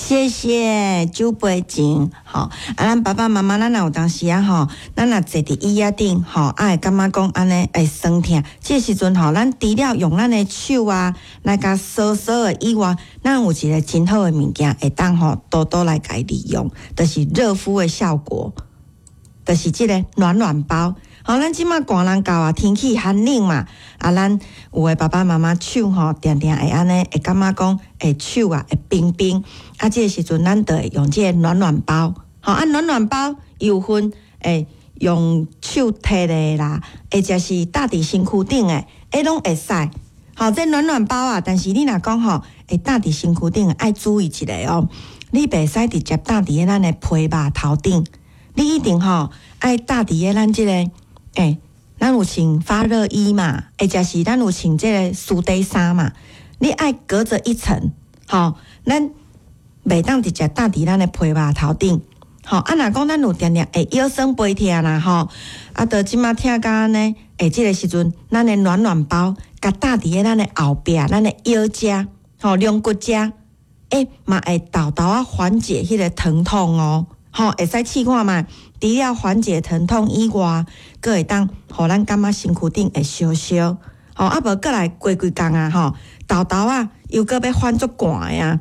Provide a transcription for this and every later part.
謝謝酒杯情，吼，啊，咱爸爸媽媽，咱若有當時啊，吼，咱若坐佇椅仔頂，吼，啊會感覺講按呢會酸疼，這個時陣吼，咱除了用咱的手啊來共挲挲的以外，咱有一個真好的物件會當吼多多來共利用，就是熱敷的效果，就是這個暖暖包。吼，咱這馬寒人到啊，天氣寒冷嘛，啊，咱有的爸爸媽媽手吼，定定會按呢，會感覺講會手啊會冰冰，啊，這個時陣咱就會用這個暖暖包，吼，啊，暖暖包有分會用手提的啦，或者是搭佇身軀頂的，欸，攏會使。吼，這暖暖包啊，但是你若講吼，會搭佇身軀頂，愛注意一下哦，你袂使直接搭佇咱的皮肉頭頂，你一定吼愛搭佇咧咱這個。欸，咱有穿發熱衣嘛，或者是咱有穿這個絲底衫嘛，你愛隔著一層，吼，咱袂當直接搭佇咱的皮肉頭頂，吼，啊，若講咱有定定會腰酸背疼啦，吼，啊，著這馬疼甲按呢，欸，這個時陣，咱的暖暖包共搭佇咧咱的後壁，咱的腰遮，吼，龍骨遮，欸，嘛會沓沓仔緩解彼個疼痛哦。吼，會使試看覓，除了緩解疼痛以外，閣會當予咱感覺身軀頂會燒燒。吼，啊無閣來過幾工啊，吼，沓沓仔又閣欲反足寒的啊！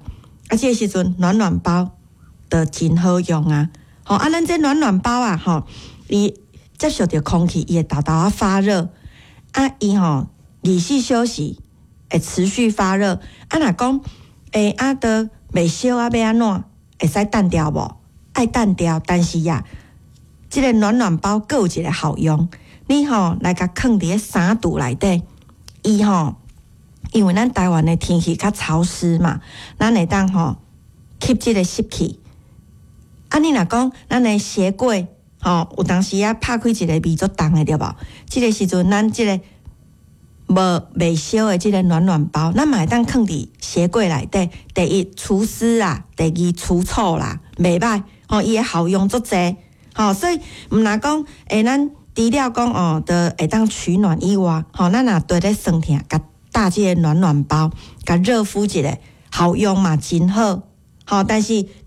啊，這個時陣暖暖包就真好用啊！吼，啊，咱這暖暖包啊，吼，伊接觸著空氣，伊會沓沓仔發熱。啊，伊吼24小時會持續發熱。啊，若講欸，啊，都袂燒啊，欲按怎？會使擲掉無？愛擲掉，但是呀，這個暖暖包閣有一個效用，你吼來共囥佇咧衫櫥內底，伊吼，因為咱台灣的天氣較潮濕嘛，咱會當吼吸這個濕氣。啊，你若講咱的鞋櫃吼，有當時啊拍開一個味足重的對無？這個時陣咱這個無袂燒的這個暖暖包，咱嘛會當囥佇鞋櫃內底。第一除濕啦，第二除臭啦，袂䆀。吼，伊的效用足濟，吼，所以毋若講，欸，咱除了講哦，著會當取暖以外，吼，咱若對咧酸疼，共搭這個暖暖包，共熱敷一下，效用嘛真好，吼，但是。